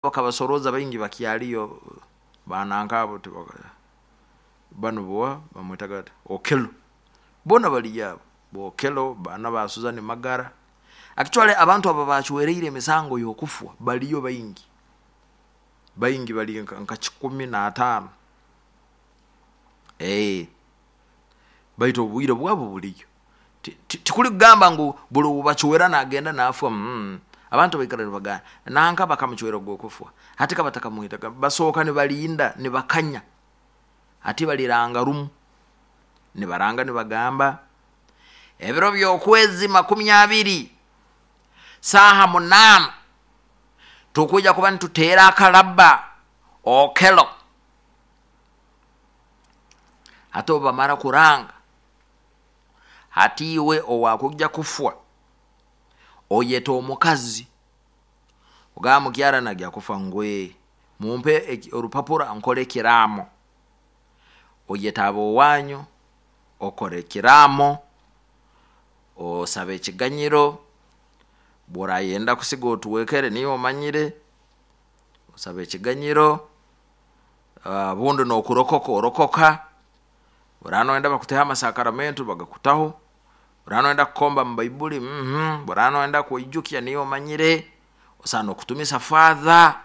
Bakabasoroza baingi bakyaliyo bananka abo, banu bowa bamwetaga ati Okelo, boona baliyo abo Bokelo, baana ba Suzani Magara. Actually abantu abo bacwereire emisango y'okufwa baliyo baingi baingi, bali nka 105, baitu obwire bwabo buliyo. Tikuli kugamba ngu buli owubacwera nagenda nafwa. Abantu baikara nibagamba nanka bakamucwera ogw'okufwa, hati kabatakamwitaga, basooka nibalinda, nibakanya. Hati baliranga rumu, nibaranga nibagamba ebiro by'okwezi 20, saaha 8, tukwija kuba nituteera akalaba Okelo. Hati obu bamara kuranga, hati iwe owakujja kufwa oyeta omukazi, ogamba mukyara nagya kufa, ngwe mumpe orupapura nkole ekiraamo. Oyeta ab'owanyu, okora ekiraamo, osaba ekiganyiro, obu orayenda kusiga otwekere niiwe omanyire, osaba ekiganyiro, obundi nokurokoka orokoka, obu oraaba noyenda bakuteho amasakaramento bagakutaho, obu oraaba noyenda kukomba mu baiburi, obu oraaba noyenda kweijukya niiwe omanyire, osobola nokutumisa father,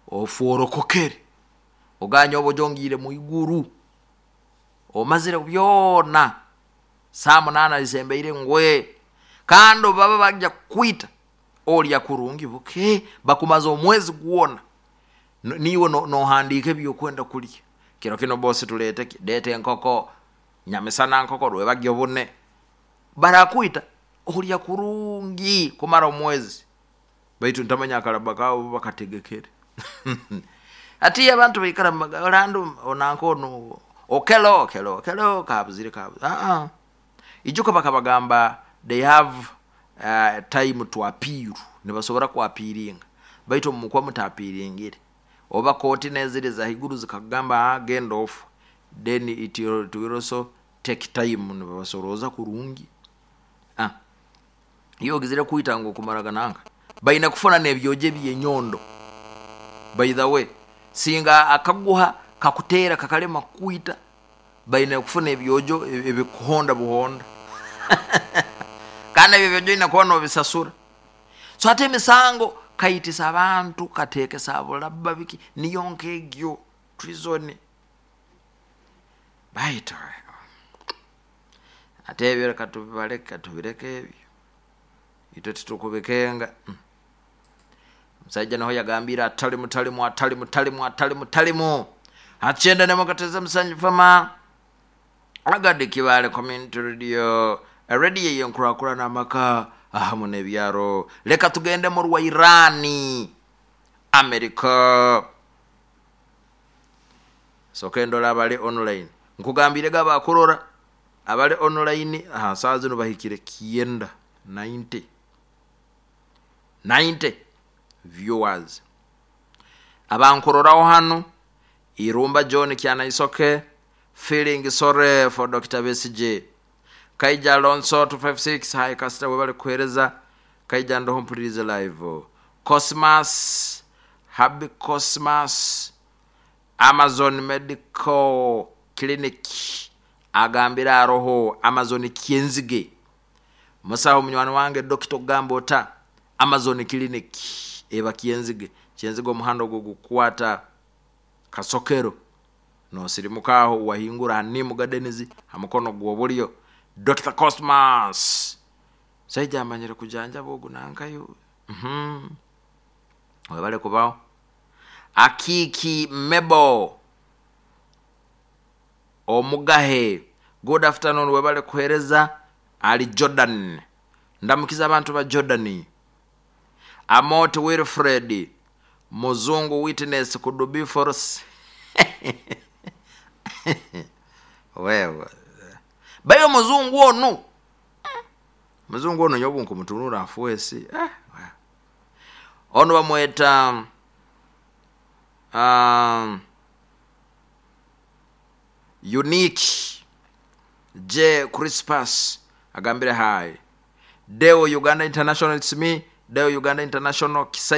ofe orokokere, ogambe nyowe bujo ngiire mwiguru, omazire byoona, saaha 8 zisembeire ngwe, kandi obu baba bagya kukwita, orya kurungi buke, bakumaza omwezi gwoona, niiwe nohandiika ebi okwenda kurya, kiro kinu boss tuleete ki, leeta enkoko, nyamisana nkoko, rwebagyo bune, barakwita orya kurungi kumara omwezi, baitu ntamanya akaraba kaabo bo bakategekere. Hati abantu baikara nibagamba Orlando nanka onu Okelo, Okelo, Okelo kabuzire kabuze, ijuka bakabagamba they have time to appeal, nibasobora ku appealinga, baitu obu mukuba mutaapiringire, oba kooti neziri ezahaiguru zikakugamba genda ofe, then it will also take time, nibabasorooza kurungi. Iwe ogizire kwita ngu okumaraga nanka, baine kufuna n'ebyojo eby'enyondo. By the way, singa akaguha kakuteera kakalema kukwita, baine kufuna ebyojo ebikuhonda buhonda, kandi ebi ebyojo oine kuba nobisasura. So hati emisango kaitisa abantu, kateekesa bulaba biki, niyo nk'egyo treason. Baitu ate ebyo reka tubibaleke, tubireke ebyo, itwe titukubikenga. Omusaija niho yagambiire atalimu talimu atalimu talimu atalimu talimu. 91.7 FM, Agadi Kibaale Community Radio, radio ey'enkurakurana amaka ahamu n'ebyaro. Leka tugende mu rwa Iran, America. Soka endole abali online. Nkugambirege abakurora abali online aha saaha zinu bahikire 90, 90, 90 viewers. Abankuroraho hanu, Irumba John Kyanaisoke, feeling sorry for Dr. Besigye. Kaija Alonso 256, hi Kasita, webale kuheereza. Kaija ndoho mpulirize live. Cosmas, Happy Cosmas, Amazon Medical Clinic agambire aroho Amazon Kyenzige. Musaho munywani wange dokita okugamba ota Amazon Clinic eba Kyenzige. Kyenzige omuhanda ogwo gukukwata Kasokero, nosirimuka aho wahingura ha Nim Gardens ha mukono gw'obulyo. Dr. Cosmas saija amanyire kujanjaba ogu nankayo. Webale kubaho. Akiki Mebo Omugahe, good afternoon, webale kuheereza. Ali Jordan, ndamukiza abantu ba Jordan. Amot Wilfred Muzungu witness could be false. Wewe bayo muzungu onu, muzungu onu nyobu nkumutunura afuesi, onu bamweta Unique J Crispus agambire hi Deo Uganda International, it's me. Deo Uganda International Kisai.